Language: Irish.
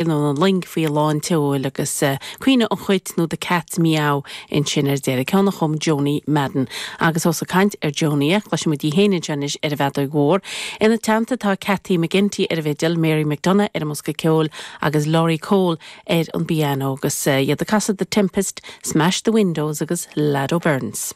Nó an loing faoi a lán tseoil agus Caoineadh an Chait nó The Cat's Meow ansin ar deireadh. Ceann a chum Joanie Madden. Agus ós ag caint ar Joanie, cloisfidh muid í féin anseo anois ar an bhfeadóig mhór. Ina teannta tá Cathy McGinty ar an bhfidil, Mary McDonagh ar an mbosca ceoil agus Laurie Cole ar an bpianó agus iad ag casadh The Tempest, Smash the Windows agus Lado Burns.